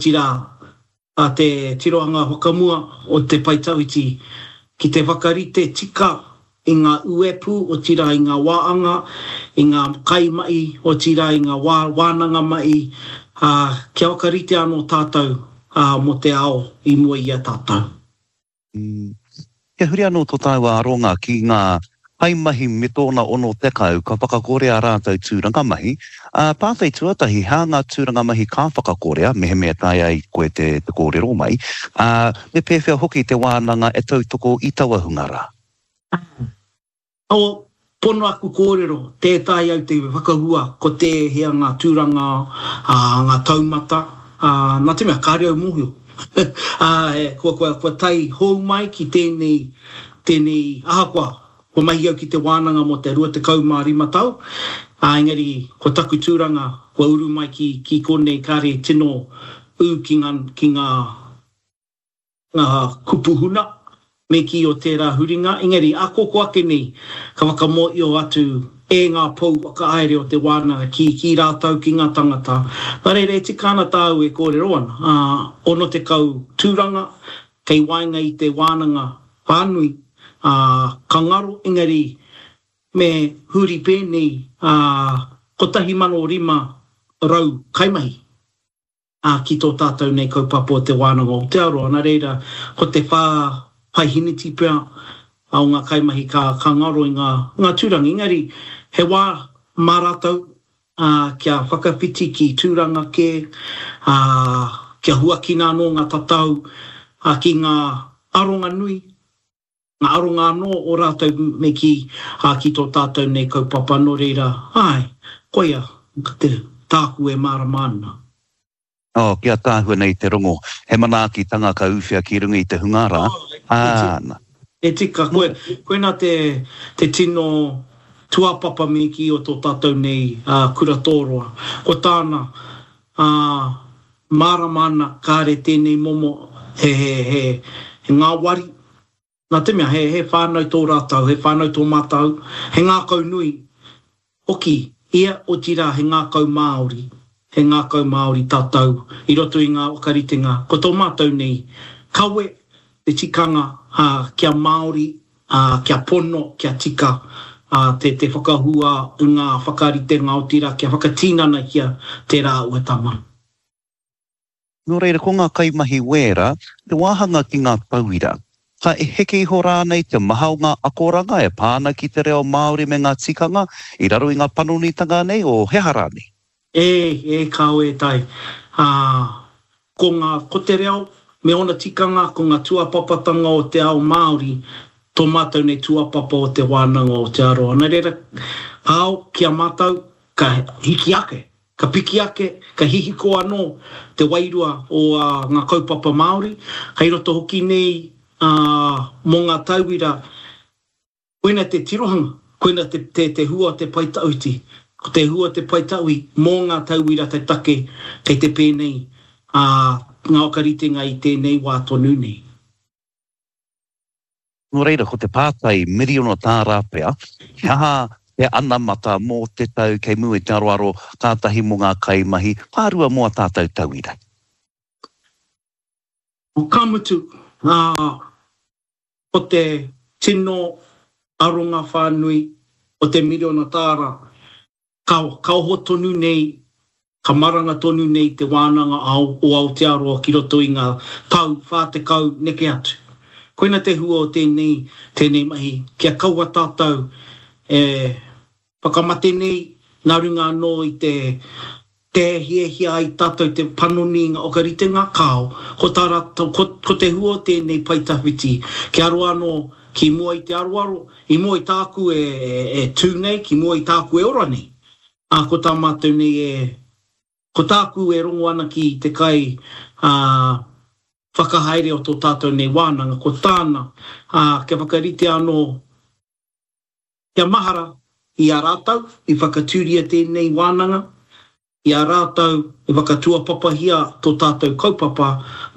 Otirā, a te tirohanga whakamua o te pae tawhiti ki te whakarite tika i ngā uepū, otirā i ngā wāanga, i ngā kaimahi, otirā i ngā wā wānanga mahi, ā, kia whakarite anō tātou mō te ao i mua i a tātou. Kia huri anō tō tāua aronga ki ngā kaimahi me tōna 60 ka whakakorea ā rātou tūranga mahi, ā, pātai tuatahi, he aha ngā tūranga mahi ka whakakorea, mehemea taea ai koe te kōrero mai, ā, me pēwhea hoki te wānanga e tautoko i taua hunga rā? O, pono aku kōrero, tē taea au te whakahua ko tēhea ngā tūranga, ā, ngā taumata, ā, nā te mea kāre au mōhio. Ā, kua, kua, kua tae hou mai ki tēnei, tēnei, ahakoa, kua mahi au ki te wānanga mō te 25 tau, ā, engari ko taku tūranga kua uru mai ki, ki konei kāre tino ū ki ngā, ki ngā, ngā kupu huna me kī o tērā huringa, engari akoko ake nei ka whakamōio atu e ngā pou whakahaere o te wānanga ki ki rātou ki ngā tangata. Nā reira e tika ana tāu e kōrero ana, ā, 60 tūranga kei waenga i te wānanga whānui, ā, ka ngaro, engari me huri pēnei, ā, 1,500 kaimahi. ā, ki tō tātou nei kaupapa o Te Wānanga o Aotearoa. Nā reira, ko te pahiniti pea o ngā kaimahi ka, ka ngaro i ngā, ngā tūranga. Engari, he wā mā rātou, ā, kia whakawhiti ki tūranga kē, ā, kia huakina anō ngā tatau, ā, ki ngā aronga nui, Ngā aronga anō o rātou me kī, ā, ki tō tātou nei kaupapa, nō reira, āe, koia te, tāku e mārama ana. Oh, kia tāhua nei te rongo, he manaakitanga ka ūwhea ki runga i te hunga rā, ā, na. E tika, koe, koina te, te tino tuapapa me kī o tō tātou nei, ā, kura tōroa. Ko tāna, ā, mārama ana kāre tēnei momo he, he, he, he ngāwari, Nā te mea, he, he whānau tō rātou, he whānau tō mātou, he ngākau nui hoki ia, otirā he ngākau Māori, he ngākau Māori tātou i roto i ngā whakaritenga. Ko tō mātou nei kawe te tikanga, ā, kia Māori, ā, kia pono, kia tika, ā, te, te whakahua i ngā whakaritenga, otirā kia whakatinanahia tērā āhuatanga. Nō reira, ko ngā kaimahi wēra, te wāhanga ki ngā tauira. Ka heke iho rānei te maha o ngā akoranga e pā ana ki te reo Māori me ngā tikanga i raro i ngā panonitanga nei, o he aha rānei? E, e kāo e tai. Ā, ko ngā, ko te reo me ōna tikanga, ko ngā tuapapatanga o te ao Māori, tō mātou nei tuapapa o Te Wānanga o Aotearoa. Nā reira, kāo ki a mātou, ka hiki ake Ka piki ake, ka hihiko anō te wairua o ngā kaupapa Māori, kei roto hoki nei mō ngā tauira, koina te tirohanga, koina te hua o te pae tawhiti, ko te hua o te pae tawi mō ngā tauira te take kei te pēnei ngā whakaritenga i tēnei wā tonu nei. Nō reira, ko te pātai miriona tāra pea, he aha te anamata mō te tau kei mua i te aroaro, kātahi mō ngā kaimahi, ka rua mō ā tātou tauira? Ka mutu, ko te tino aronga whānui o te miriona tāra Ka ka oho tonu nei, ka maranga tonu nei te wānanga o Aotearoa ki roto i ngā tau 40 neke atu. Koina te hua o tēnei, tēnei mahi, kia kaua tātou e whakamate nei nā runga anō i te te hiahia ai tātou te panoni i ngā whakaritenga, kāo, ko tā rātou, ko, ko te hua o tēnei pae tawhiti, kia roa anō ki mua i te aroaro, i mua i tāku e, e, e tū nei, ki mua i tāku e ora nei. Ā, ko tā mātou nei e, ko tāku e rongo ana ki te kai, ā, whakahaere o tō tātou nei wānanga, ko tāna, ā, kia whakarite anō, kia mahara i a rātou i whakatūria tēnei wānanga, I a rātou e whakatuapapahia tō tātou kaupapa,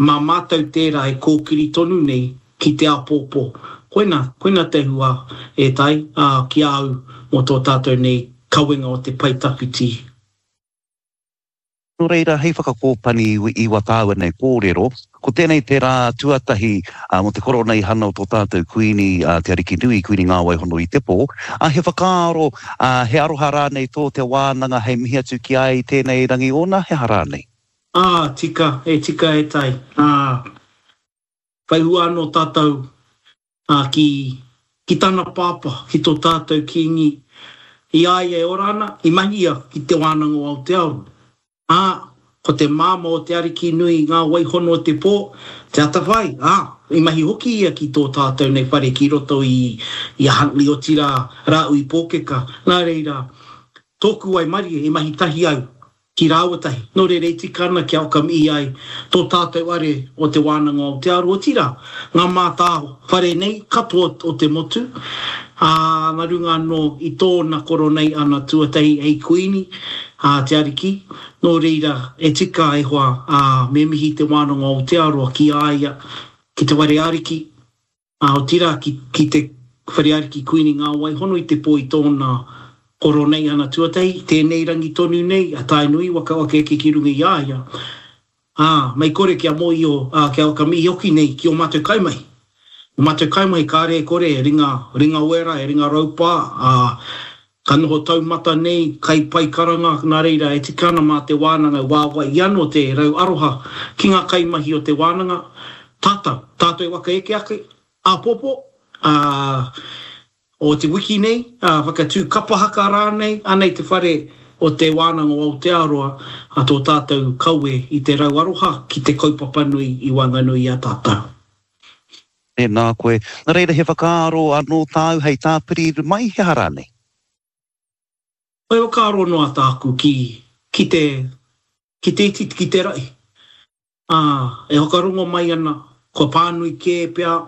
mā mātou tērā e kōkiri tonu nei ki te āpōpō. Koina, koina te hua e tai, ā, ki a au mō tō tātou nei kawenga o te pae tawhiti. Nō reira, hei whakakōpani i wā tāua nei kōrero, ko tēnei te rā tuatahi mō te koroneihana o tō tātou Kuini, a Te Arikinui, Kuini Ngāwaihono i te pō. Ā, he whakaaro, ā, he aroha rānei tō te wānanga hei mihi atu ki a ia i tēnei rangi ōna, he aha rānei? Ā, tika, e tika e tai. Ā, whai hua anō tātou, ā, ki, ki tana pāpā, ki tō tātou Kīngi, i a ia e ora ana, i mahi ia ki Te Wānanga o Aotearoa. Ā, ko te māmā o te Ariki nui ngā waihono o te pō, te atawhai, ā, i mahi hoki ia ki tō tātou nei whare ki roto i, i a Huntly, otirā, Rāhui Pōkeka. Nā reira, tōku waimarie i mahi tahi au ki rāua tahi. Nō reira e tika ana kia whakamihi ai tō tātou are o Te Wānanga o Aotearoa, otirā, ngā mātā whare nei katoa o te motu, ā, nā runga anō i tōna koronei ana tuatahi hei Kuini, ā, Te Ariki. Nō reira, e tika e hoa, ā, me mihi Te Wānanga o Aotearoa ki a ia, ki te whare ariki, Ā, otirā, ki, ki te Whare Ariki Kuini Ngā Waihono i te pō i tōna koroneihana tuatahi, tēnei rangi tonu nei, a Tainui waka waka eke ki runga i a ia, ā, mei kore kia mōhio, ā, kia whakamihi hoki nei ki ō mātou kaimahi. Ō mātou kaimahi kāre e kore e ringa, ringa wera, e ringa raupā, ā, ka noho taumata nei, kai pai karanga, nā reira e tika ana mā te wānanga e wāwai anō te rau aroha ki ngā kaimahi o te wānanga, Tātou, tātou e waka eke ake, āpōpō, ā, o te wiki nei, ā, whakatū kapa haka rānei, anei te whare o Te Wānanga o Aotearoa, ā, tō tātou kawe i te rau aroha ki te kaupapa nui i waenganui i a tātou. Tēnā koe. Nā reira, he whakaaro anō tāu hei tāpiri mai, he aha rānei? He whakaaro noa tāku ki, ki te, ki te iti, ki te rahi. Ā, e whakarongo mai ana, kua pānui kē pea,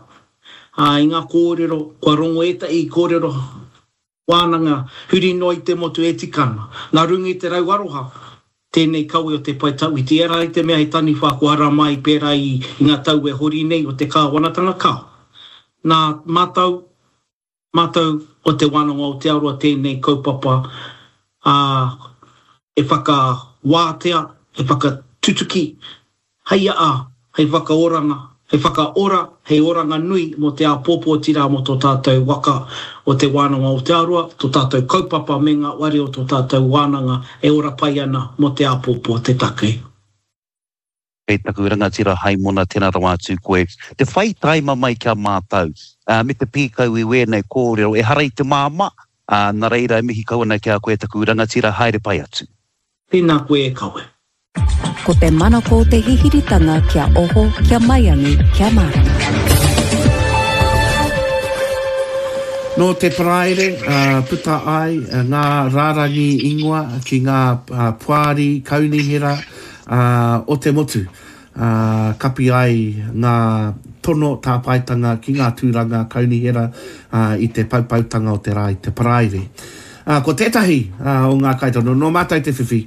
ā, i ngā kōrero, kua rongo ētahi kōrero wānanga huri noa i te motu e tika ana. Nā runga i te rau aroha tēnei kawe o te pae tawhiti, ehara i te mea he taniwha kua ara mai pērā i ngā tau e hori nei o te kāwanatanga, kāo. Nā mātou Mātou o Te Wānanga o Aotearoa tēnei kaupapa, ā, e whakawātea, e whakatutuki, hei aha, hei whakaoranga, hei whakaora, hei oranga nui mō te āpōpō otirā mō tō tātou waka o Te Wānanga o Aotearoa, tō tātou kaupapa me ngā ware o tō tātou wānanga e ora pai ana mō te āpōpō te take. Kei taku rangatira Haimona tena rawa atu koe te whai taima mai ki a mātau me te pīkau i wēnei kōrero ehara i te māmā, ā, na reira e mihi kau ana ki a koe taku rangatira haere pai atu. Tēnā koe e kawe. Ko te manako o te hihiritanga kia oho, kia maiangi, kia mārama. Nō te Paraire puta ai ngā rārangi ingoa ki ngā poari kaunihera o te motu, ā, kapi ai ngā tono tāpaetanga ki ngā tūranga kaunihera i te poupoutanga o te rā i te Paraire. Ā, ko tētahi o ngā kaitono, nō mātou te whiwhi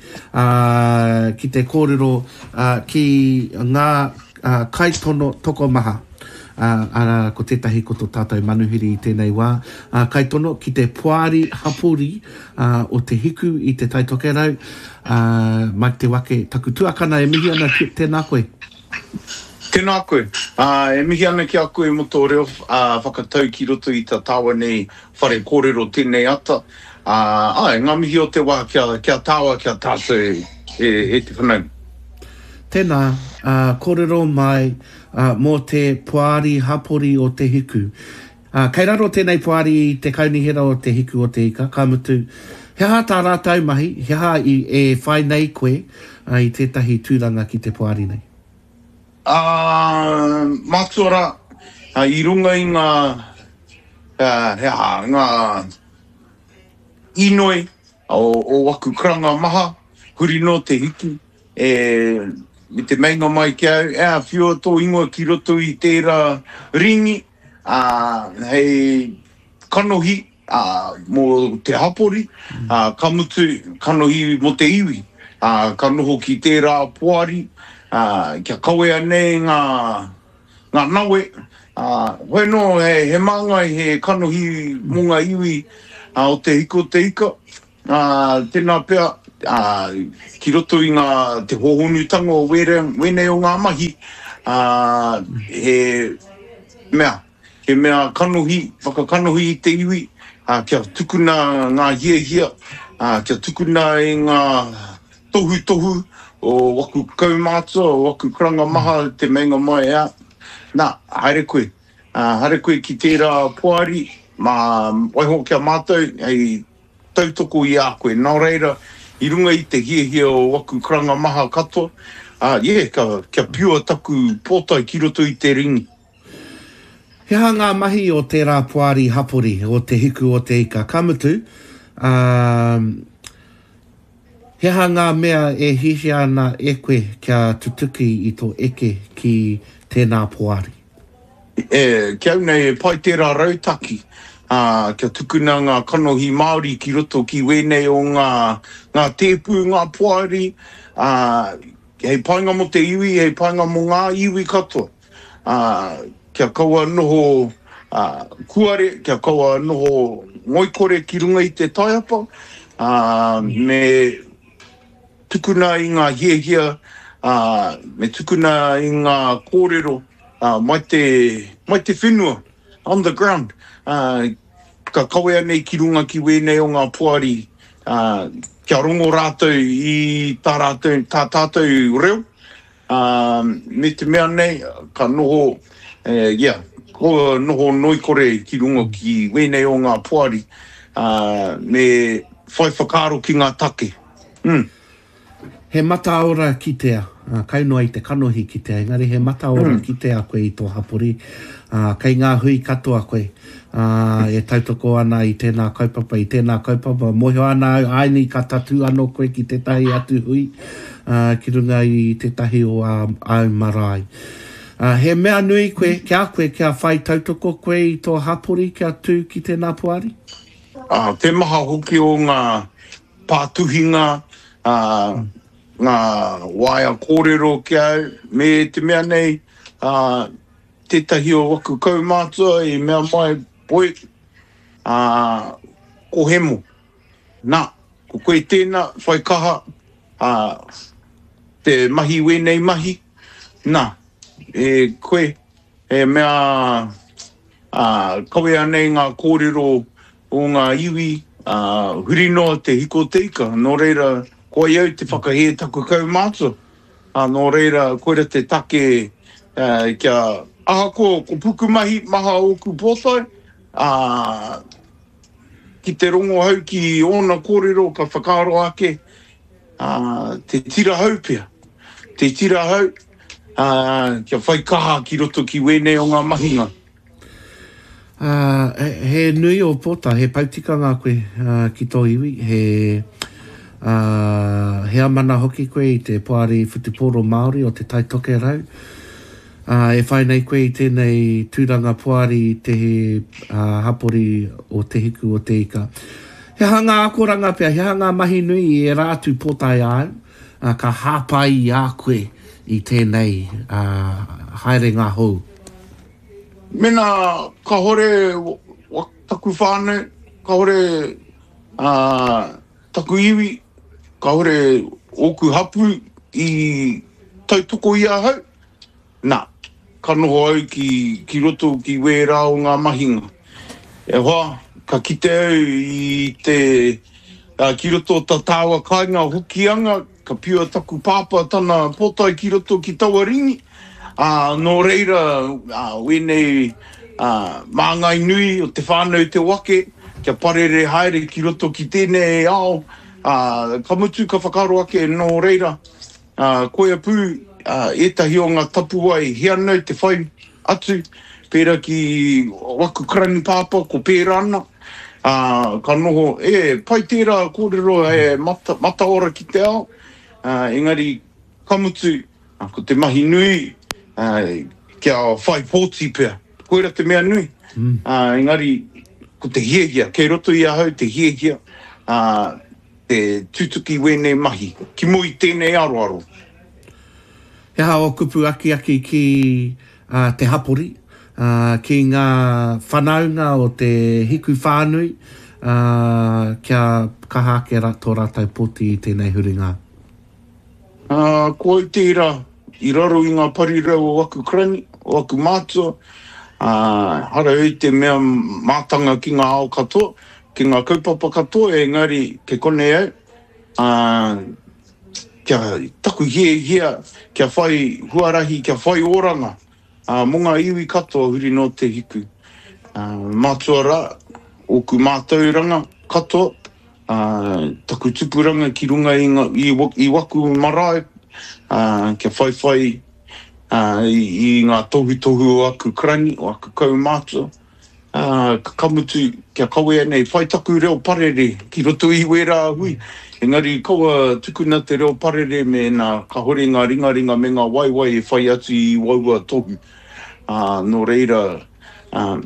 ki te kōrero ki ngā kaitono tokomaha, arā, ko tētahi ko tō tātou manuhiri i tēnei wā, kaitono ki te Poari Hapori o Te Hiku i Te Tai Tokerau, Ā, Mike Te Wake, taku tuakana e mihi ana ki, tēnā koe. Tēnā koe. Ā, e mihi ana ki a koe mō tō reo whakatau ki roto i tā tāua nei whare kōrero tēnei ata. Ā, āe, ngā mihi o te wā ki a, ki a tāua, ki a tātou e, e te whanaunga. Tēnā, ā, kōrero mai, ā, mō te Poari Hapori o Te Hiku. Ā, kei raro tēnei poari i te Kaunihera o Te Hiku o Te Ika, ka mutu, he aha tā rātou mahi, he aha i, e whai nei koe i tētahi tūranga ki te poari nei? Ā, mātua rā, i runga i ngā, he aha, ngā inoi o, o waku karanga maha, huri noa te hiku, e, me te meinga mai ki au, e, whiua tō ingoa ki roto i tērā ringi, ā, hei kanohi, ā, mō te hapori, ā, ka mutu, kanohi mō te iwi, ā, ka noho ki tērā poari, ā, kia kawea nei ngā, ngā nawe, ā, hoi anō, he, he māngai, he kanohi mō ngā iwi, ā, o Te Hiku o Te Ika, ā, tēnā pea. Ā, ki roto i ngā, te hōhonutanga o wērā, wēnei o ngā mahi, ā, he mea, he mea kanohi, whakakanohi i te iwi, ā, kia tukuna ngā hiahia, ā, kia tukuna i ngā tohutohu o waku kaumātua, o waku karanga maha te meinga mai, ā, nā, haere koe, ā, haere koe ki tērā poari, mā, waiho ki a mātou hei tautoko i a koe. Nō reira, i runga i te hiahia o waku karanga maha katoa, ā, yeah, ka, kia piua taku pōtae ki roto i te ringi. He aha ngā mahi o tērā poari hapori, o Te Hiku o Te Ika? Ka mutu, ā, he aha ngā mea e hiahia ana e koe kia tutuki i tō eke ki tēnā poari? E, ki au nei, e pai tērā rautaki, ā, kia tukuna ngā kanohi Māori ki roto ki wēnei o ngā, ngā tēpū, ngā poari, ā, hei painga mō te iwi, hei painga mō ngā iwi katoa. Ā, kia kaua noho, ā, kuare, kia kaua noho ngoikore ki runga i te taiapa, ā, me tukuna i ngā hiahia, ā, me tukuna i ngā kōrero, ā, mai te, mai te whenua, on the ground, ā, ka kawea nei ki runga ki wēnei o ngā poari, ā, kia rongo rātou i tā rātou, tā tātou reo, ā, me te mea nei, ka noho, e, yeah, ko noho noikore ki runga ki wēnei o ngā poari, ā, me whai whakaaro ki ngā take. Mm. He mataora kitea, ā, kai noa i te kanohi kitea, engari he mataora kitea koe i tō hapori, ā, kei ngā hui katoa koe, ā, e tautoko ana i tēnā kaupapa, i tēnā kaupapa. Mōhio ana au, āinī ka tatū anō koe ki tētahi atu hui, ā, ki runga i tētahi o ā, āu marae. Ā, he mea nui koe, ki a koe, kia whai tautoko koe i tō hapori kia tū ki tēnā poari? Ā, te maha hoki o ngā pātuhinga, ā, ngā waea kōrero ki a au, me te mea nei, ā, tētahi o waku kaumātua i mea mai, Boy, ā, ko Hemo, nā, ko koe tēnā, whai kaha, ā, te mahi wēnei mahi, nā, e koe, he mea, Ā, kawea nei ngā kōrero o ngā iwi, ā, huri noa te hiko te ika, nō reira, koia au te whakahē taku kaumātua, ā, nō reira, koira te take, ā, kia, ahakoa ko pukumahi maha ōku pōtae, ā, ki te rongohau ki ōna kōrero ka whakaaro ake, ā, te tira hau pea, te tira hau, ā, kia whai kaha ki roto ki wēnei o ngā mahinga. Ā, he nui ō pōtae, he poutikanga koe ki tō iwi, he, ā, he amana hoki koe i te Poari Whutupōro Māori o Te Tai Tokerau. Ā, e whai nei koe i tēnei tūranga poari i te hapori o Te Hiku o Te Ika. He aha ngā akoranga pea, he aha ngā mahi nui i ērā atu pōtae āu, ā, ka hāpai i a koe i tēnei, ā, haerenga hou? Mēnā kāore taku whānau, kāore, ā, taku iwi, kāore ōku hapū i tautoko i ahau, Nā, ka noho au ki, ki roto ki wērā o ngā mahinga. E hoa, ka kite au i te, ā, ki roto o tā tāua kāinga Hokianga, ka piua taku pāpā tana pōtae ki roto ki taua ringi, ā, nō reira, ā, wēnei, ā, māngai nui o te whānau Te Wake, kia parere haere ki roto ki tēnei ao, ā, ka mutu ka whakaaro ake nō reira, Ā, koia pū ētahi o ngā tapuwae he anau te whai atu, pērā ki waku karani pāpā ko pērā ana, ā, ka noho, e, pai tērā kōrero he mata, mataora ki te ao, ā, engari ka mutu, ko te mahi nui, ā, kia whai pōti pea. Koira te mea nui, ā, engari ko te hiahia, kei roto i ahau te hiahia, ā, te tutuki wēnei mahi, ki mua i tēnei aroaro. He aha ō kupu akiaki ki te hapori, ki ngā whanaunga o te hiku whānui, ā, kia kaha ake ra, tō rātou pōti i tēnei huringa? Ā, ko au tērā i raro i ngā parirau o aku karani, o aku mātua, ā, hara au te mea mātanga ki ngā ao katoa, ki ngā kaupapa katoa, engari kei konei au, ā, kia taku hiahia kia whai huarahi, kia whai oranga mō ngā iwi katoa huri noa te hiku. Mātua rā, ōku mātauranga katoa, taku tupuranga ki runga i, i, i waku marae, kia whaiwhai i, i ngā tohutohu o aku karani, o aku kaumātua. Ā, ka mutu, kia kawea nei, whai taku reo parere ki roto i wērā hui, engari kaua tukuna te reo parere mēnā kāore ngā ringaringa me ngā waewae e whai atu i waua tohu. Ā, nō reira, ā,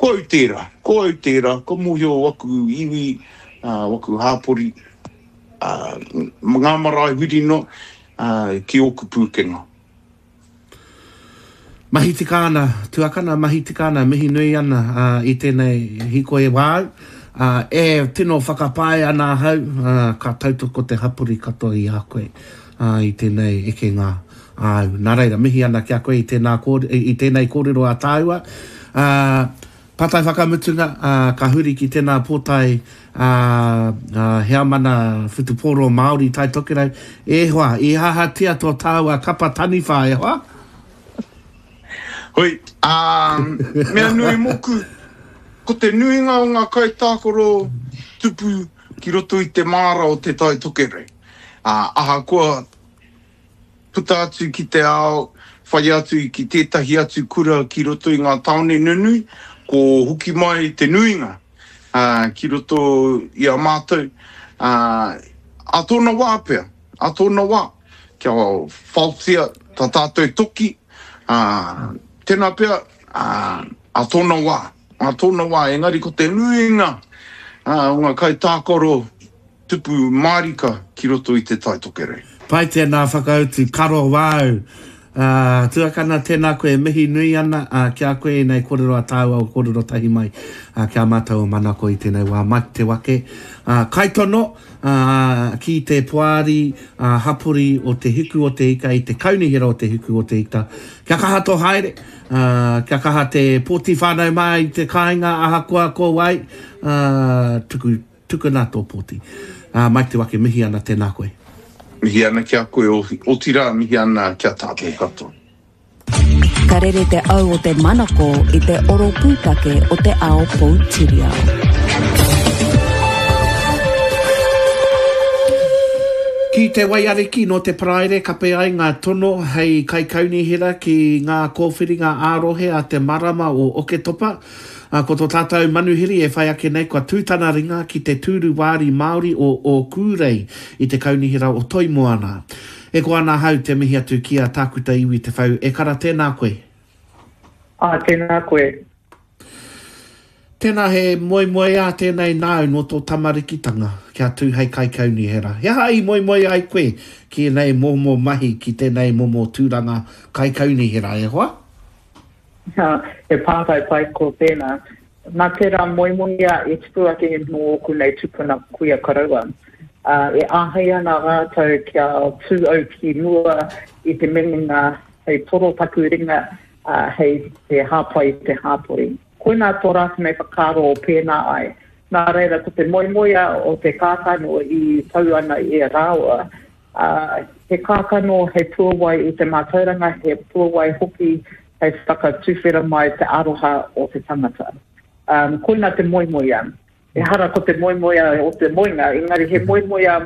ko au tērā, ko au tērā, ka mōhio waku iwi, ā, waku hāpori, ā, ngā marae huri noa, ā, ki ōku pūkenga. Mahi tika ana, tuakana, mahi tika ana, mihi nui ana i tēnei hīkoi wāu. E tino whakapae ana ahau, ka tautoko te hapori katoa i a koe i tēnei ekenga āu. Nā reira, mihi ana ki a koe i tēnā i tēnei kōrero a tāua. Pātai whakamutunga, ka huri ki tēnā pōtae ā, heamana whutupōro Māori Tai Tokerau, e hoa, i hahatia tō tāua kapa taniwha, e hoa? Hoi, ā, mea nui mōku, ko te nuinga o ngā kaitākaro tupu ki roto i te māra o Te Tai Tokerau, ā, ahakoa puta atu ki te ao, whai atu ki tētahi atu kura ki roto i ngā tāone nunui, ko hoki mai te nuinga ki roto i a mātou, ā tōna wā pea, ā tōna wā, kia whaotia tā tātou toki, tēnā pea, ā tōna wā, ā tōna wā, engari ko te nuinga o ngā kaitākaro Tupu mārika ki roto i Te Tai Tokerau. Pai tēnā whakautu, karo wāu. Ā, tuakana, tēnā koe e mihi nui ana ā, ki a koe ēnei kōrero a tāua o kōrero tahi mai ā, ki a mātou o Manako i tēnei wā. Mike Te Wake, ā, kaitono ā, ki te poari ā, hapori o Te Hiku o Te Ika i te Kaunihera o Te Hiku o Te Ika. Kia kaha tō haere, ā, kia kaha te pōti whānau mā i te kāinga ahakoa ko wai, ā, tuku Tukuna tō pōti. Ā, Mike Te Wake, mihi ana, tēnā koe. Mihi ana ki a koe, otirā mihi ana ki a tātou katoa. Ka rere te au o te manako i te oro pūtake o te ao poutiriao. Ki te Waiariki, nō te Paraire kape ai ngā tono hei kaikaunihera ki ngā kōwhiringa ā-rohe a te marama o Oketopa. Ā, ko tō tātou manuhiri e whai ake nei kua tū tana ringa ki te tūru wāri Māori o Ōkūrei i te Kaunihera o Toimoana. E koa ana ahau te mihi atu ki a Tākuta Iwi Te Whau. E kara, tēnā koe. Ā, tēnā koe. Tēnā he moemoeā tēnei nāu nō tō tamarikitanga kia tū hei kaikaunihera. He aha i moemoe ai koe ki ēnei momo mahi, ki tēnei momo tūranga kaikaunihera, e hoa? He pātai pai ko tēnā. Nā tērā moemoeā i tupu ake nō ōku nei tupuna kuia koroua. E āhei ana rātou kia tū au ki mua i te minenga hei toro taku ringa hei te hāpai i te hāpori. Koinā tō rātou nei whakaaro o pēnā ai. Nā reira ko te moemoeā o te kākano i tau ana i a rāua, Ā, he kākano hei puawai i te mātauranga, he puawai hoki hei whakatuwhera mai te aroha o te tangata. Ā, koina te moemoeā. Ehara ko te moemoeā o te moenga, engari he moemoeā,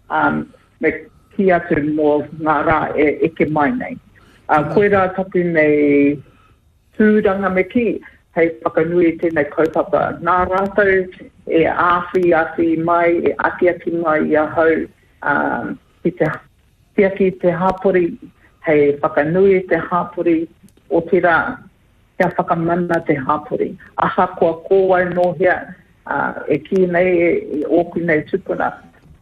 ā, me kī atu mō ngā rā e eke mai nei. Ā, koirā taku nei tūranga me kī, hei whakanui i tēnei kaupapa. Nā rātou e āwhiawhi mai, e akiaki mai i ahau ki te tiaki i te hapori, hei whakanui i te hapori, otirā, kia whakamana te hapori. Ahakoa ko wai nō hea, e kī nei e ōku nei tupuna,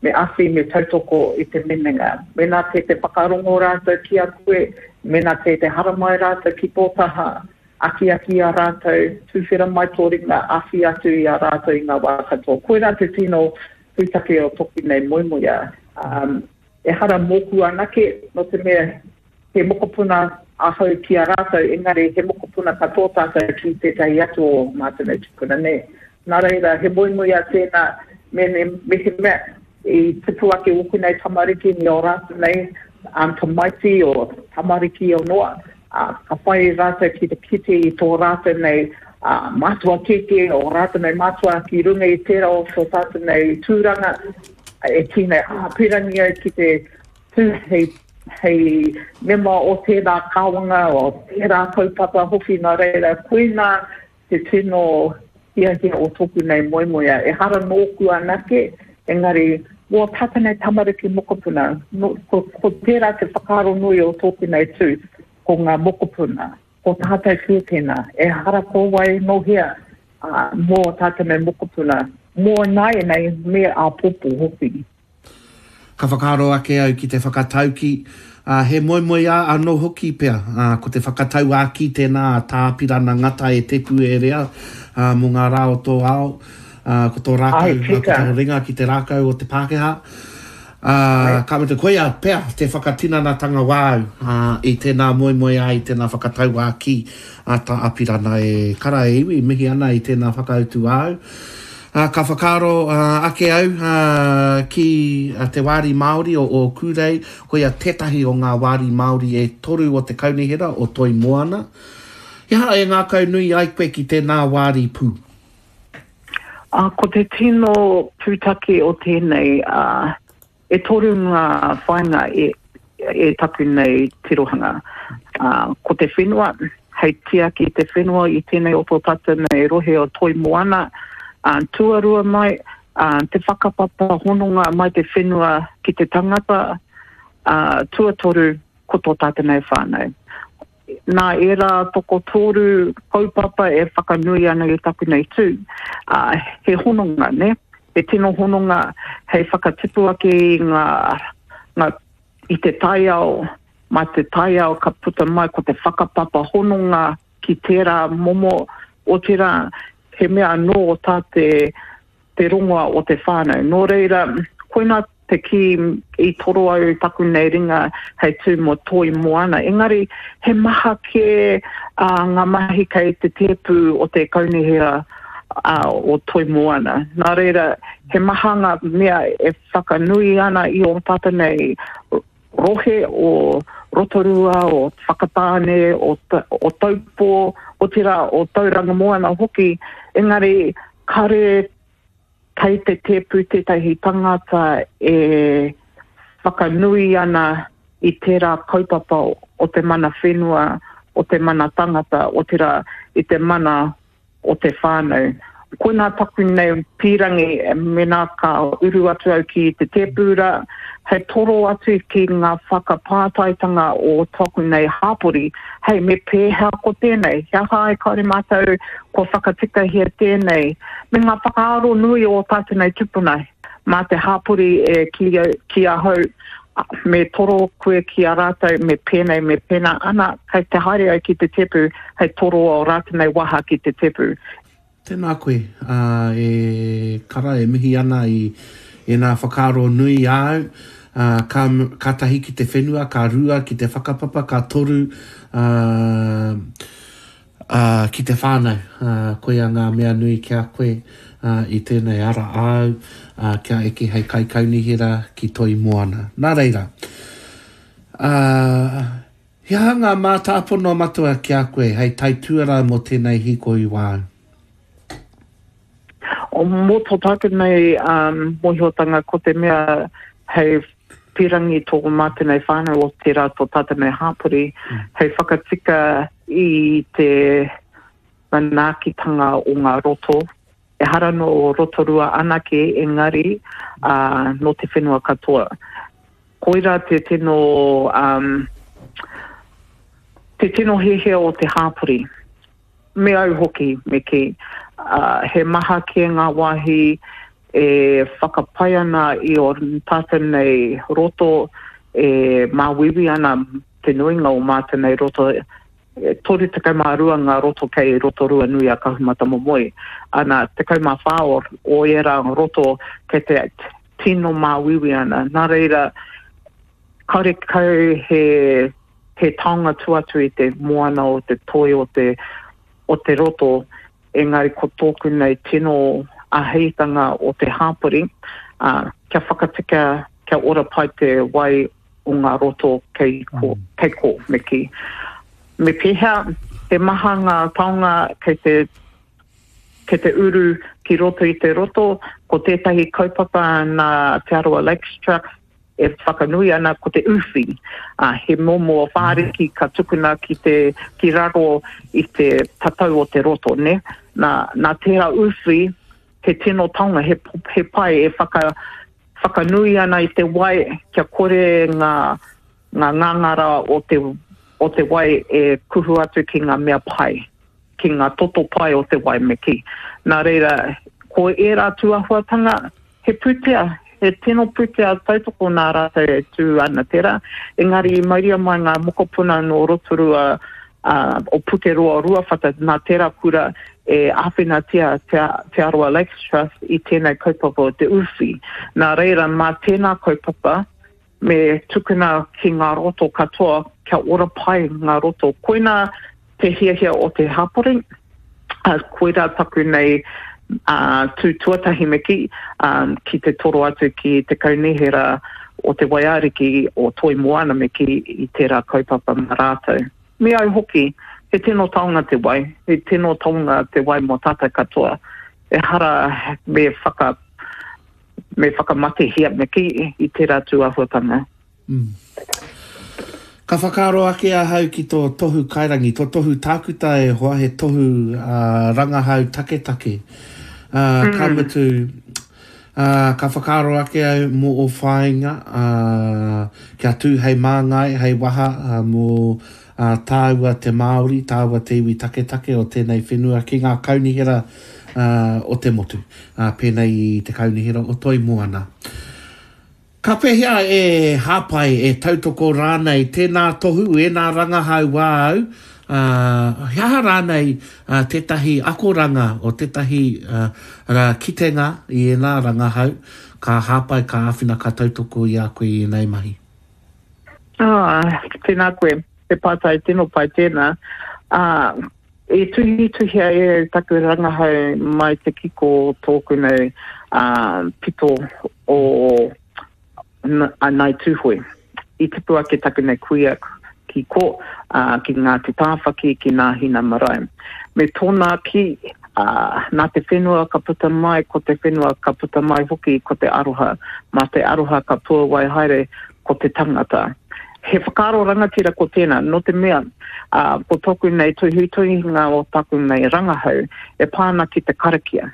me awhi, me tautoko i te minenga. Mēnā kei te whakarongo rātou ki a koe, mēnā kei te haramai rātou ki tō taha, Akiaki i a rātou, tuwhera mai tō ringa, awhi atu i a rātou i ngā wā katoa. Koirā te tino pūtake o toku nei moemoeā. Um, ehara mōku anake, nō te mea he mokopuna ahau ki a rātou, engari he mokopuna katoa tātou ki tētahi atu o mātou nei tupuna, nē. Nā reira, he moemoeā tēnā, me, me, mehemea i tupu ake ōku nei tamariki me ō rātou nei um, tamaiti o tamariki o noa, ā, ka whai rātou ki te kite i tō rātou nei ā, mātua kēkē, ō rātou nei mātua ki runga i tērā o tō tātou nei tūranga, e kī nei, ā, pīrangi au ki te tū hei, hei mema o tērā kāwanga, o tērā kaupapa hoki, nā reira, koinā te tino hiahia o tōku nei moemoeā. Ehara nōku anake, engari mō tātou nei tamariki mokopuna, no, ko, ko tērā te whakaaro nui o tōku nei tū, ko ngā mokopuna, ko tātou kē tēnā, ehara ko wai nō hea, ā, mō tātou nei mokopuna, mō nāianei me āpōpō hoki. Ka whakaaro ake au ki te whakatauki, ā, he moemoeā anō hoki pea, ā, ko te whakatauākī tēnā a Tā Apirana Ngata e Te Puerea, ā, mō ngā rā o tō ao, ā, ko tō rākau, Āe, ā, ko tika. tō ringa ki te rākau o te Pākehā. Ā, Āe. ka mutu, koia pea te whakatinanatanga wāu, ā, i tēnā moemoeā, i tēnā whakatauākī a Tā Apirana e kara e iwi, mihi ana i tēnā whakautu āu. Ā, ka whakaaro ake au ki te wāri Māori o Ōkūrei, koia tētahi o ngā wāri Māori e toru o te kaunihera o Toi Moana. He aha e ngākaunui ai koe ki tēnā wāri pū? Ā, ko te tino pūtake o tēnei, ā, E toru ngā whāinga e, e taku nei tirohanga. Ā, ko te whenua, hei tiaki i te whenua i tēnei o tō tātou nei rohe o Toi Moana. Ā, tuarua mai, ā, te whakapapa hononga mai te whenua ki te tangata. Ā, tuatoru, ko tō tātou nei whānau. Nā ērā tokotoru kaupapa e whakanui ana i taku nei tū, ā, he hononga, nē? He tino hononga hei whakatipu ake i ngā, ngā, i te taiao, mā te taiao ka puta mai ko te whakapapa hononga ki tērā momo, otirā, he mea anō tā te, te rongoa o te whānau. Nō reira, koinā te kī i toro au taku nei ringa hei tū mō Toi Moana. Engari, he maha kē ngā mahi kei te tēpu o te kaunihera o Toi Moana. Nā reira, he maha ngā mea e whakanui ana i ō tātou nei rohe o Rotorua, o Whakatāne, o, o Taupō, otirā o Tauranga Moana hoki, engari kare kei te tēpu tētahi tangata e whakanui ana i tērā kaupapa o te mana whenua, o te mana tangata, otirā i te mana o te whānau. Koinā taku nei pīrangi mēnā ka uru atu au ki te tēpū rā, hei toro atu ki ngā whakapātaitanga o taku nei hāpori, hei me pēhea ko tēnei, he aha ai kāore mātou kua whakatikahia tēnei, me ngā whakaaro nui o tātou nei tupuna, mā te hāpori e kī ki ahau, me toro koe ki a rātou, me pēnei, me pēnā, ana, kei te haere au ki te tepu, hei toro o rātou nei waha ki te tepu. Tēnā koe, ā, e kara, e mihi ana i ēnā whakaaro nui āu, ā, ka, ka tahi ki te whenua, ka rua ki te whakapapa, ka toru, ā, ā, ki te whānau, ā, koia ngā mea nui ki a koe, ā, i tēnei ara āu, ā, kia eke hei kaikaunihera ki Toi Moana. Nā reira, ā, He aha ngā mātāpono matua ki a koe hei taituarā mō tēnei hīkoi wāu? Mō tō tātou nei mōhiotanga ko te mea hei pīrangi tō mātou nei whānau o tērā tō tātou nei hāpori hei whakatika i te manaakitanga o ngā roto. Ehara nō Rotorua anake engari nō te whenua katoa. Koirā te tino, um, te tino hiahia o te hāpori. Me au hoki, me kī. Uh, he maha kē ngā wāhi e whakapai ana i o tātou nei roto, e māuiui ana te nuinga o mātou nei roto. E 32 ngā roto kei Rotorua nui a Kahumatamomoe. Ana, 14 o, o ērā roto kei te tino māuiui ana. Nā reira, karekau he, he taonga tua atu i te moana o te toi o te, o te roto, engari ko tōku nei tino āheitanga o te hāpori, ā, kia whakatika, kia ora pai te wai o ngā roto kei ko, mm. kei ko, me kī. Me pēhea, he maha ngā taonga kei te, kei te uru ki roto i te roto, ko tētahi kaupapa nā Te Arawa Lakes Trust e whakanui ana ko te uwhi, ā, he momo whāriki ka tukuna ki te, ki raro i te tatau o te roto, nē. Nā, nā tērā uwhi, he tino taonga, he, he pai e whaka, whakanui ana i te wai kia kore ngā, ngā ngāngara o te, o te wai e kuhu atu ki ngā mea pai, ki ngā toto pai o te wai me kī. Nā reira, ko ērā tūahuatanga, he pūtea, he tino pūtea tautoko nā rātou e tū ana tērā, engari i mauria mai ngā mokopuna nō Rotorua, ā, o Pukeroa Ruawhata, nā tērā kura e āwhinatia Te, Te Arawa Lakes Trust i tēnei kaupapa o te uwhi. Nā reira, mā tēnā kaupapa, me tukuna ki ngā roto katoa kia ora pai ngā roto. Koinā te hiahia o te hapori, ā, koirā taku nei ā, tū tuatahi me kī, ā, ki te toro atu ki te kaunihera o te Waiariki o Toi Moana me kī i tērā kaupapa mā rātou. Me au hoki, he tino taonga te wai, he tino taonga te wai mō tātou katoa. Ehara me whaka, me whakamatehia me kī i tērā tū āhuatanga. Mm. Ka whakaaro ake ahau ki tō tohu kairangi, tō tohu tākuta e hoa, he tohu uh, rangahau taketake. Uh, mm. Ka mutu, uh, ka whakaaro ake au mō ō whāinga, uh, kia tū hei māngai, hei waha uh, mō uh, tāua te Māori, tāua te iwi taketake o tēnei whenua ki ngā kaunihera uh, o te motu, uh, pēnei i te kaunihera o Toi Moana. Ka pēhea e hāpai, e tautoko rānei tēnā tohu, ēnā rangahau āu, ā, he aha rānei tētahi akoranga o tētahi kitenga i ēnā rangahau ka hāpai, ka āwhina, ka tautoko i a koe i ēnei mahi? Ā, tēnā koe. He pātai tino pai tēnā. Ā, i tuhituhia e au taku rangahau mai te kiko o tōku nei pito o Ngāi Tūhoe. I tipu ake taku nei kuia ki kō, ki Ngāti Tāwhaki, ki Nāhina Marae. Me tōna kī, nā te whenua ka puta mai, ko te whenua ka puta mai hoki ko te aroha. Mā te aroha ka puawai haere ko te tangata. He whakaaro rangatira ko tēnā, nō te mea, ā, ko tōku nei tuhituhinga o taku nei rangahau e pā ana ki te karakia.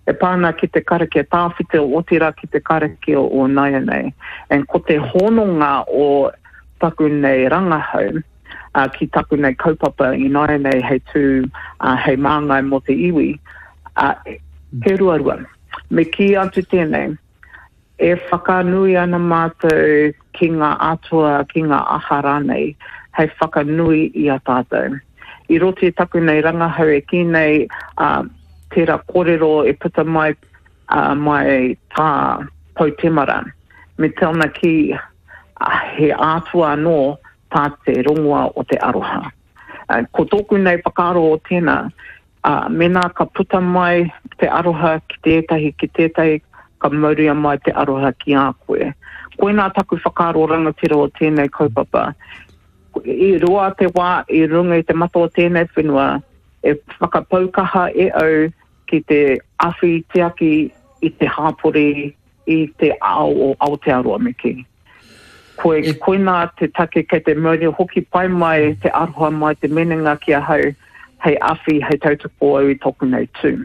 E pā ana ki te karakia tāwhito, otirā ki te karakia o nāianei. And ko te hononga o taku nei rangahau, ā, ki taku nei kaupapa ināianei hei tū, ā, hei māngai mō te iwi, ā, he ruarua. Me kī atu tēnei, E whakanui ana mātou ki ngā atua, ki ngā aha rānei, hei whakanui i a tātou. I roto i taku nei rangahau e kī nei, ā, tērā kōrero e puta mai, ā, mai tā Pou Temara, me tōna kī, he atua anō tā te rongoa o te aroha. Ā, ko tōku nei whakaaro o tēnā, Ā, mēnā ka puta mai te aroha ki tētahi, ki tētahi, ka mauria mai te aroha ki a koe. Koinā taku whakaaro rangatira o tēnei kaupapa. I roa te wā i runga i te mata o tēnei whenua, e whakapau kaha e au ki te awhi tiaki i te hāpori, i te ao o Aotearoa me kī. Koe, e... Koinā te take kei te mauri hoki pai mai te aroha mai te menenga ki ahau hei awhi, hei tautoko au i toku nei tū.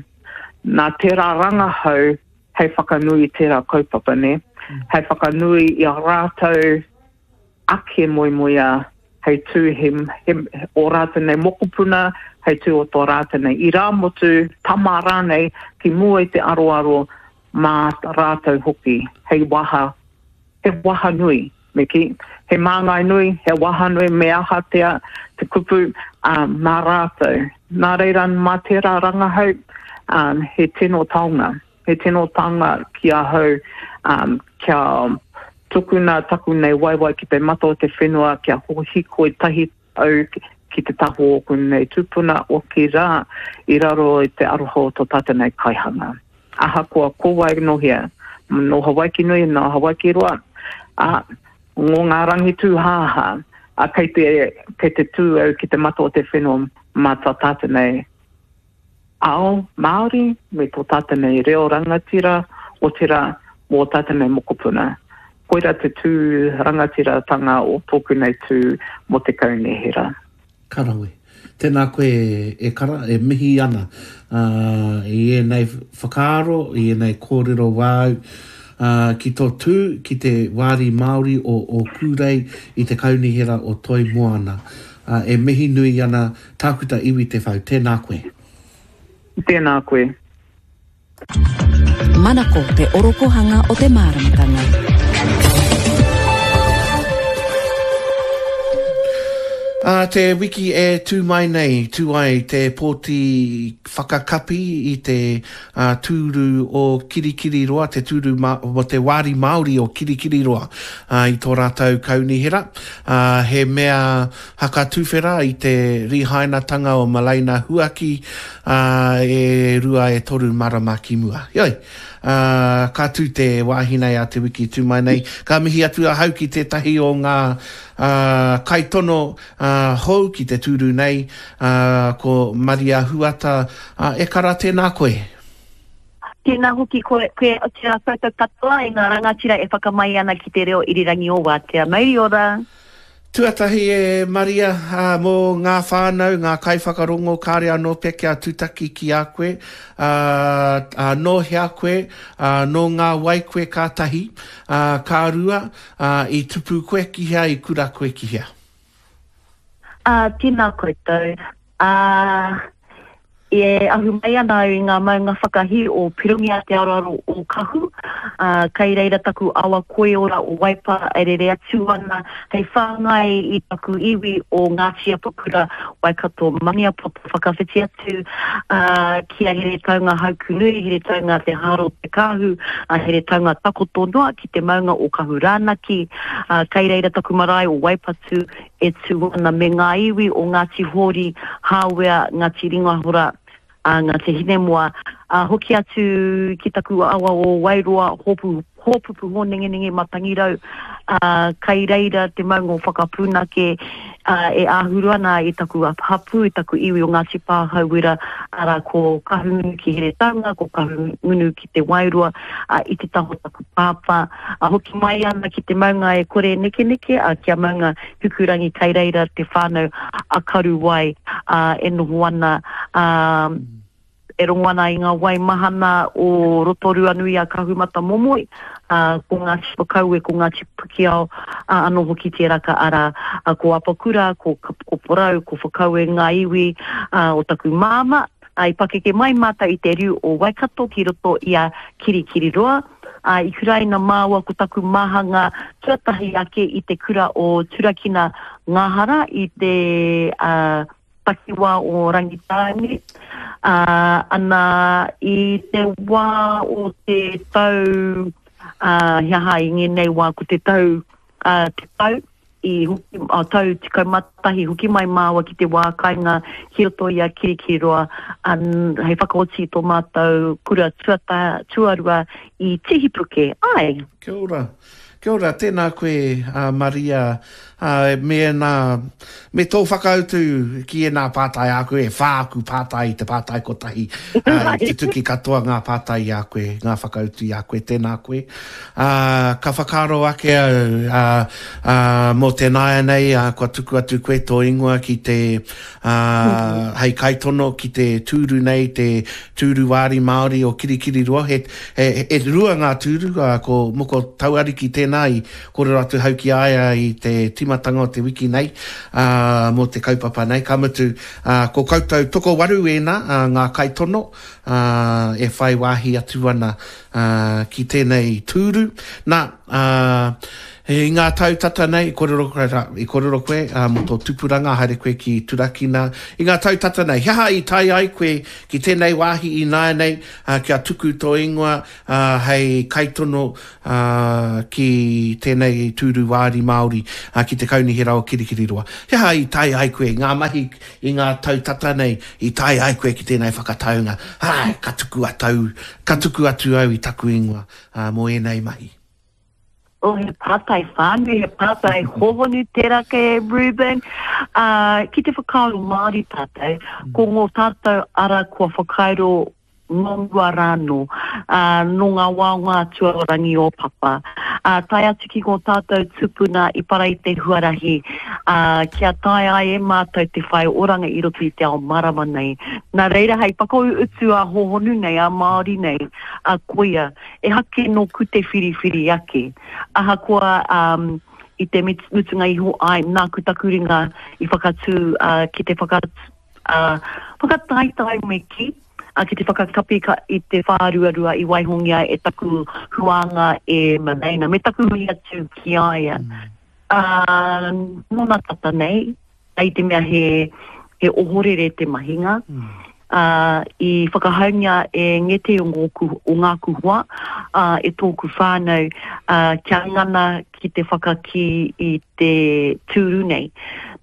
Nā tērā rangahau hei whakanui i tērā kaupapa, nē? Mm. Hei whakanui i a rātou ake moemoeā hei tū he, he, o rātou nei mokopuna, hei tū o tō rātou nei irāmutu, tama rānei, ki mua i te aroaro mā rātou hoki, hei waha, he waha nui, me kī, he māngai nui, he waha nui, me aha tea te kupu. ā, mā rātou. Nā reira, mā tērā rangahau, ā, he tino taonga. He tino taonga ki ahau, ā, kia tukuna taku nei waewae ki te mata o te whenua, kia hikoi tahi au ki te taha o ōku nei tūpuna, otirā, i raro i te aroha o tō tātou nei kaihanga. Ahakoa ko wai nō hea, nō Hawaiki nui, nō Hawaiki roa, ā, ngō ngā rangi tūhāhā, ā, kei te, kei te tū au ki te mata o te whenua mā tā tātou nei ao Māori me tō tātou nei reo rangatira, otirā, mō ō tātou nei mokopuna. Koirā te tū rangatiratanga o tōku nei tū mō te kaunihera. Ka rawe. Tēnā koe e Kara, e mihi ana i ēnei whakaaro, i ēnei kōrero wāu ki tō tū ki te wāri Māori o Ōkūrei i te Kaunihera o Toi Moana. E mihi nui ana Tākuta Iwi Te Whau, tēnā koe. Tēnā koe. Manako te orokohanga o te māramatanga. Ā te wiki e tū mai nei, tū ai te pōti whakakapi i te tūru o Kirikiriroa, te tūru mō te wāri Māori o Kirikiriroa i tō rātou kaunihera. He mea hakatuwhera i te rīhainatanga o Malaina Huaki ā, e rua e toru marama ki mua. Heoi, ā, ka tū te wāhi nei a te wiki tū mai nei. Ka mihi atu ahau ki tētahi o ngā, ā, kaitono, ā, hou ki te tūru nei, ā, ko Maria Huata, ā, e kara tēnā koe. Tēnā hoki koe, koe, tēnā koutou katoa e ngā rangatira e whakamai ana ki te reo irirangi o Wātea. Mauri ora! Tuatahi e Maria, ā, mō ngā whānau, ngā kaiwhakarongo kāre anō pea kia tutaki ki a koe, ā, ā, nō hea koe, ā, nō ngā wai koe ka tahi, ā, ka rua, ā, i tupu koe ki hea, i kura koe ki hea? Ā, tēnā koutou. Ā, e ahu mai ana au i ngā maunga whakahī o Pirongia Te Aroaro o Kahu, ā, kei reira taku awa koiora o Waipā e rere atu ana hei whāngai i taku iwi o Ngāti Apakura, Waikato Maniapoto whakawhiti atu, ā, ki a Heretaunga Haukunui, Heretaunga Te Hāro Te Kāhu, ā, Heretaunga Takoto noa ki te maunga o Kahurānaki, ā, kei reira taku marae o Waipatu e tū ana me ngā iwi o Ngāti Hōri, Hāwea, Ngāti Ringahora, ā, Ngāti Hinemoa, ā, hoki atu ki taku awa o Wairoa, Hōpu, Hōpupu Hōnengenenge Matangirau, ā, kai reira te maunga o Whakapūnake, ā, e āhuru ana i taku hapū, i taku iwi o Ngāti Pāhauwera, arā, ko Kahungunu ki Heretaunga, ko Kahungunu ki Te Wairoa, ā, i te taha o taku pāpā, A hoki mai ana ki te maunga e kore e nekeneke, a kia maunga Hikurangi kei reira te whanau a Karuwai, a e noho ana, a e rongo ana i nga wai mahana o Rotorua-nui a Kahumatamomoe, a ko Ngati Whakaue, ko Ngati Pikiao, a ano hoki tēraka ara, a ko Apakura, ko, ko Porou, ko Whakaue nga iwi, a o taku māmā. A i pakeke mai mātou i te riu o Waikato ki roto i a Kirikiriroa, Ā, i kuraina māua ko taku māhanga tuatahi ake i te kura o Turakina Ngāhara i te takiwā o Rangitāne. Ā, ana, i te wā o te tau, ā, he aha i ngēnei wā ko te tau, ā, te tau, I hoki, a tau 11 hoki mai māua ki te wā kainga ki roto i a Kirikiriroa, an, hei whakaoti i tō mātou kura tuata, tuarua i Tihipuke. Āe. Kia ora. Kia ora, tēnā koe a Maria, ā, me ēnā, me tō whakautu ki ēnā pātai āku, e whā aku pātai i te pātai kotahi, ā, i tutuki katoa ngā pātai i a koe, ngā whakautu i a koe, tēnā koe. Ā, ka whakaaro ake au, ā, ā, mō te nāianei, ā, kua tuku atu koe tō ingoa ki te, ā, hei kaitono ki te tūru nei, te tūru wāri Māori o Kirikiriroa. He, he, e rua ngā tūru, ā, ko Moko Tauariki tēnā i kōrero atu hau ki a ia i te tīmatanga o te wiki nei, ā, mō te kaupapa nei. Ka mutu, ā, ko koutou tokowaru ēnā, ā, ngā kaitono, ā, e whai wāhi atu ana ā, ki tēnei tūru. Nā, ā, I ngā tau tata nei, i kōrero koe, i kōrero koe mō tō tupuranga, haere koe ki Turakina. I ngā tau tata nei, he aha i tae ai koe ki tēnei wāhi ināianei kia tuku tō ingoa hei kaitono ki tēnei tūru wāri Māori ki te Kaunihera o Kirikiriroa? He aha i tae ai koe, ngā mahi i ngā tau tata nei, i tae ai koe ki tēnei whakataunga, āe, ka tuku atau, ka tuku atu au i taku ingoa mō ēnei mahi? Oh, he pātai whānui, he pātai hōhonu tērā kei a Reuben. Uh, ki te whakaaro Māori tātou, mm. ko ngō tātou ara kua whakairo nō mua rānō, uh, nō ngā wā o ngā atua o Rangi o Papa. Uh, tae atu ki ngō tātou tupuna i para i te huarahi, uh, kia tae ai e mātou te whai oranga i roto i te ao marama nei. Nā reira, hei whakautu a hōhonu nei, a Māori nei, a koia, Ehake nōku te whiriwhiri ake. Ahakoa um, i te mutunga iho, āe, nāku taku ringa i whakatū uh, ki te whaka, uh, whakataetae me kī, uh, ki te whakakapi ka, i te whāruarua i waihongia e taku huānga e Maleina, me taku mihi atu ki a ia. Mm. Uh, nōna tata nei, i te mea he, he ohorere te mahinga, mm. ā, i whakahaungia e ngētehi o ngōku, o ngāku hoa, ā, e tōku whānau, ā, kia ngana ki te whakakī i te tūru nei.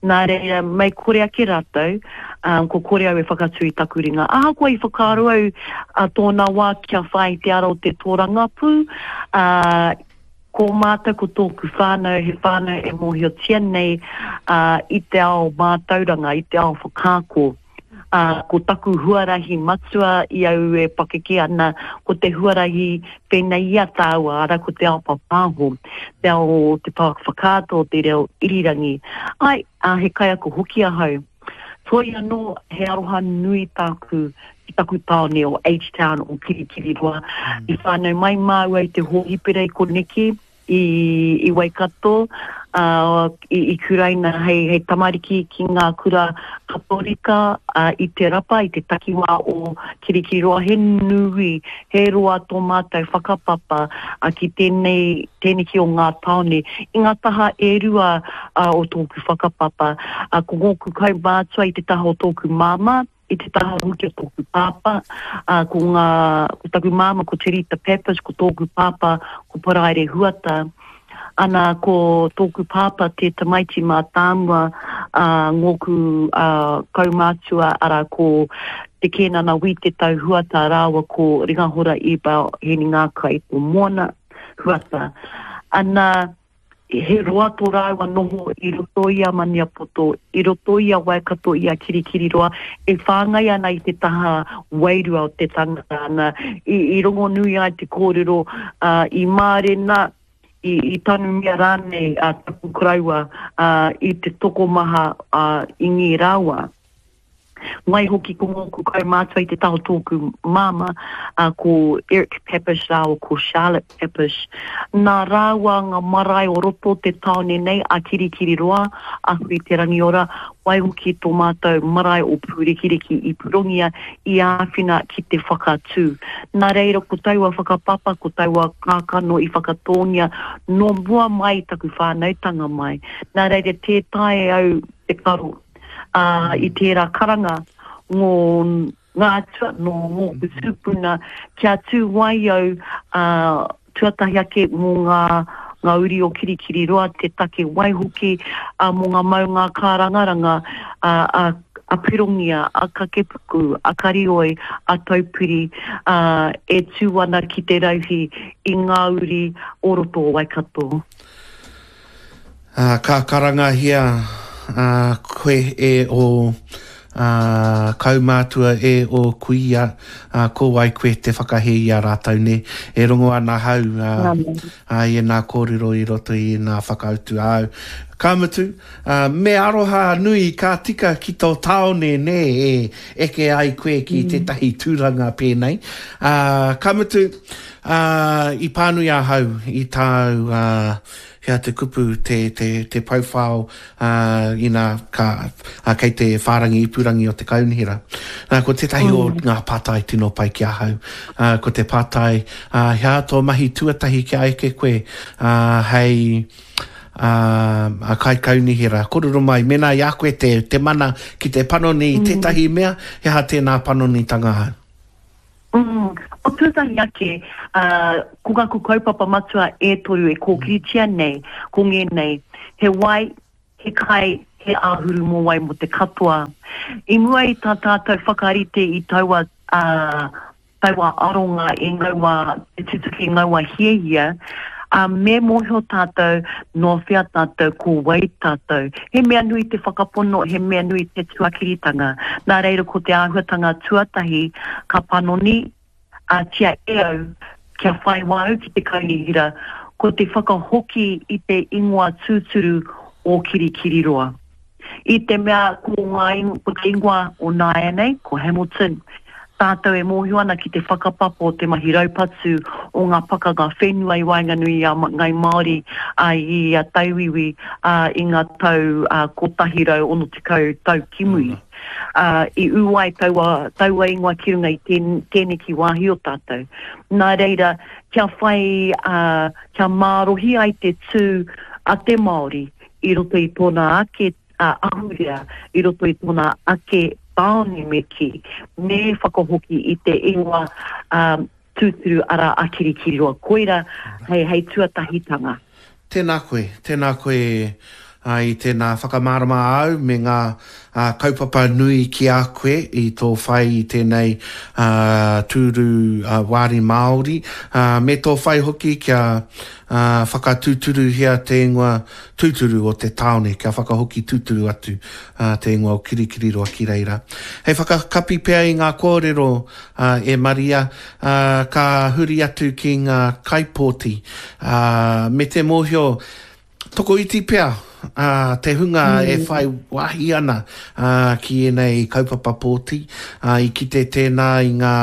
Nā reira, mei kore ake rātou, ā, ko kore au e whakatū i taku ringa. Ahakoa i whakaaro au ā tōna wā kia whai i te ara o te tōrangapū, ā, Ko mātou ko tōku whānau he whānau e mōhiotia nei i te ao mātauranga, i te ao whakaako. Ko taku huarahi matua i au e pakeke ana, ko te huarahi pēnei i a tāua, arā ko te ao papāho, te ao o te pouaka whakaata, o te reo irirangi. Āe, he kaiako hoki ahau. Toi anō, he aroha nui tāku ki taku tāone o H-Town o Kirikiriroa. I whānau mai māua i te hōhipera i koneki, i, i Waikato, ā, i, i kuraina hei, hei tamariki ki ngā kura Katorika ā, i Te Rapa, i te takiwā o Kirikiriroa. He nui, he roa tō mātou whakapapa ā, ki tēnei, tēneki o ngā tāone. I ngā taha e rua ā, o tōku whakapapa, ā, ko ngōku kaumātua i te taha o tōku māmā, I te taha hoki o tōku pāpā, ā, ko ngā, ko taku māmā ko Te Rita Pappas, ko tōku pāpā ko Paraire Huata. Ana, ko tōku pāpā te tamaiti mātāmua a ngōku ā, kaumātua, arā, ko Te Kēnana Wī Te Tau Huata rāua ko Ringahora Ebel Hēningākai o Moana Huata. Ana, He roa tō rāua noho i roto i a Maniapoto, i roto i a Waikato, i a Kirikiriroa, e whāngai ana i te taha wairua o te tangata ana. I, i rongonui ai te kōrero, ā, i mārena, i, i tanumia rānei a taku koroua, ā, i te tokomaha, ā, i ngī rāua. Waihoki ko ngōku kaumātua i te taha o tōku māmā, ā, ko Eric Papish rāua ko Charlotte Papish. Nā rāua ngā marae o roto o te tāone nei, a Kirikiriroa, a Hui-te-rangiora, waihoki tō mātou marae o Pūrekireki i Pirongia i āwhina ki te whakatū. Nā reira ko taua whakapapa, ko taua kākano i whakatōngia nō mua mai i taku whānautanga mai. Nā reira tē taea e au te karo. ā, i tērā karanga ngō ngā atua, nō ngōku tūpuna, kia tū ai au, ā, tuatahi ake mō ngā, ngā uri o Kirikiriroa te take, waihoki, ā, mō ngā maunga kārangaranga, ā, ā, a Pirongia, a Kakepuku, a Karioi, a Taupiri, ā, e tū ana ki te rauhī i ngā uri o roto o Waikato. Ā, ka karangahia koe e ō kaumātua, e ō kuia, ā, ko wai koe te whakahē i a rātou, nē? E rongo ana ahau i ēnā kōrero i roto i ēnā whakautu āu. Ka mutu, me aroha nui ka tika ki tō tāone, nē, e eke ai koe ki tētahi tūranga pēnei. Ā, ka mutu, i pānui ahau i tāu. Hea te kupu, te, te, te pouwhao, ā, ina ka, ā, kei te whārangi ipurangi o te kaunihera. Nā, ko tētahi o ngā pātai tino pai ki ahau, ā, ko te pātai, ā, he aha tō mahi tuatahi kia eke koe, ā, hei, ā, ā, kaikaunihera? Kōrero mai, mēnā i a koe te, te mana ki te panoni i tētahi mea, he aha tēnā panonitanga hau? Mm, ko tuatahi ake, ā, ko ngaku kaupapa matua e toru e kōkiritia nei, ko ngēnei, he wai, he kai, he āhuru mōwai mō te katoa. I mua i tā tātou whakarite i taua, ā, taua aronga i ngaua, te tutuki i ngaua hiahia, ā, me mōhio tātou nō whea tātou, ko wai tātou. He mea nui te whakapono, he mea nui te tuakiritanga. Nā reira ko te āhuatanga tuatahi ka panoni a tia e au kia whai wā au ki te kaunihera, ko te whakahoki i te ingoa tūturu o Kirikiriroa. I te mea ko ngā ko te ingoa o nāianei, ko Hamilton, tātou e mōhio ana ki te whakapapa o te mahi raupatu o ngā pakanga whenua i waenganui i a Ngai Māori, ā, i a Tauiwi, ā, i ngā tau 160 tau ki muri. Ā, i ū ai taua, taua ingoa ki runga i tēneki wāhi o tātou. Nā reira, kia whai, ā, kia mārohi ai te tū a te Māori i roto i tōna ake ahurea, i roto i tōna ake tāone me kī, me whakahoki i te ingoa tūturu arā a Kirikiriroa. Koira hei, hei tuatahitanga. Tēnā koe, tēnā koe i tēnā whakamārama āu me ngā kaupapa nui ki a koe i tō whai i tēnei tūru wāri Māori, me tō whai hoki kia whakatūturuhia te ingoa tūturu o te tāone, kia whakahoki tūturu atu te ingoa o Kirikiriroa ki reira. Hei whakakapi pea i ngā kōrero e Maria, ka huri atu ki ngā kaipōti, me te mōhio, Tokoiti pea te hunga e whai wāhi ana ki ēnei kaupapa pōti. I kite tēnā i ngā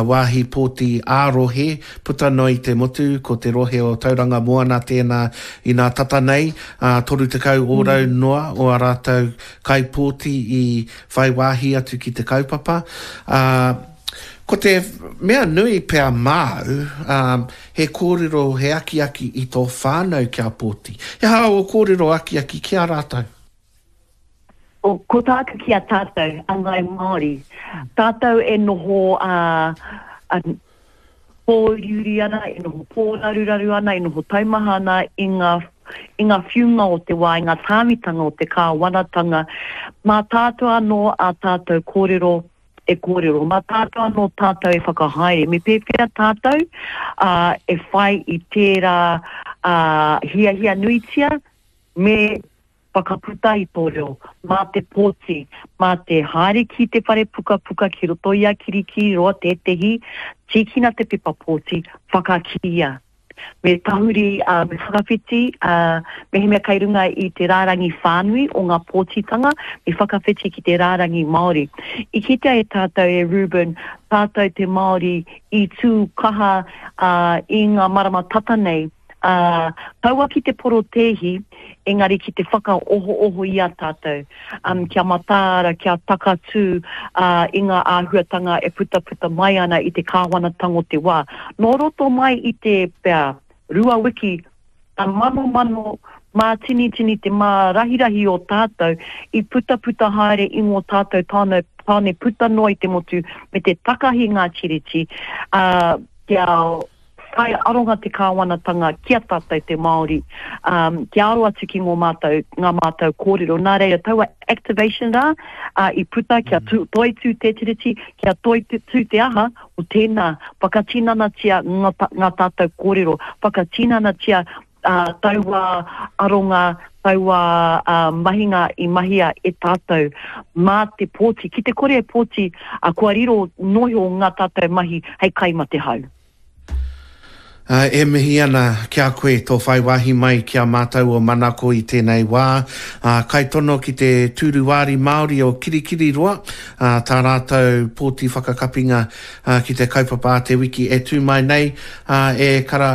wāhi pōti ā-rohe puta noa i te motu, ko te rohe o Tauranga Moana tēnā inā tata nei, 30 ōrau noa o ā rātou kaipōti i whai wāhi atu ki te kaupapa. Ko te mea nui pea māu, He kōrero, he akiaki i tō whānau kia pōti. He aha ō kōrero akiaki ki a rātou? Ko tāku ki a tātou, a Ngāi Māori, tātou e noho pōuriuri ana, e noho pōraruraru ana, e noho taumaha ana i ngā, i ngā whiunga o te wā, i ngā tāmitanga o te kāwanatanga, mā tātou anō ā tātou kōrero e kōrero, mā tātou anō tātou e whakahaere, me pēwhea tātou e whai i tērā hiahia nuitia me whakaputa i tō reo, mā te pōti, mā te haere ki te whare pukapuka ki roto i a Kirikiriroa tētehi, tīkina te pepa pōti, whakakīia. Me tahuri, ā, me whakawhiti, ā, mehemea kei runga i te rārangi whānui o ngā pōtitanga, me whakawhiti ki te rārangi Māori. I kitea e tātou, e Reuben, tātou te Māori i tū kaha, ā, i ngā marama tata nei, ā, kaua ki te porotēhi, engari ki te whakaohooho i a tātou, um, kia mataara, kia takatū uh, i ngā āhuatanga e putaputa mai ana i te kāwanatanga o te wā. Nō roto mai i te pea rua wiki, ka manomano mātinitini te mārahirahi o tātou i putaputa haere i ngō tātou tāne, tāne puta noa i te motu me te takahi ngā tiriti, uh, kia Whai aronga te kāwanatanga ki a tātou te Māori, um, kia aro atu ki ngō mātou, ngā mātou kōrero. Nā reira, taua activation rā, uh, i puta kia mm. toitū te tiriti, kia toitū te aha, o tēnā, whakatinanatia ngā, ngā tātou kōrero, whakatinanatia uh, taua aronga, taua uh, mahinga i mahia e tātou mā te pōti. Ki te kore e pōti, uh, kua riro noho ngā tātou mahi hei kai ma te hau. E mihi ana ki a koe tō whai wāhi mai ki a mātou o Manako i tēnei wā. Kaitono ki te Tūru Wāri Māori o Kirikiriroa, tā rātou pōti whakakapinga ki te kaupapa a te wiki e tū mai nei, e kara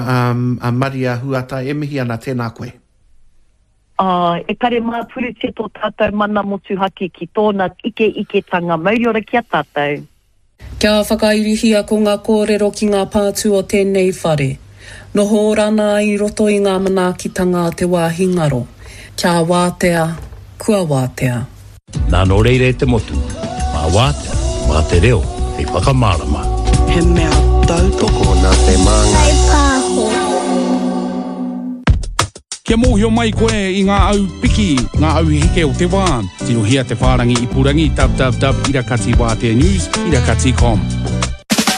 a Maria Huata, e mihi ana, tēnā koe. Ā, e kare māpurutia tō tātou mana motuhake ki tōna ikeiketanga mauriora ki a tātou. Kia whakairihia ko ngā kōrero ki ngā pātū o tēnei whare. Noho ora ana i roto i ngā manaakitanga a te wāhi ngaro. Kia wātea, kua wātea. Nā nō reira e te motu, mā wātea, mā te reo hei whakamārama. He mea tautoko nā te Māngai Pāho. Kia mōhio mai koe i ngā au piki, ngā au heke o te wā, tirohia te whārangi ipurangi www irakatiwāteanews irakati com.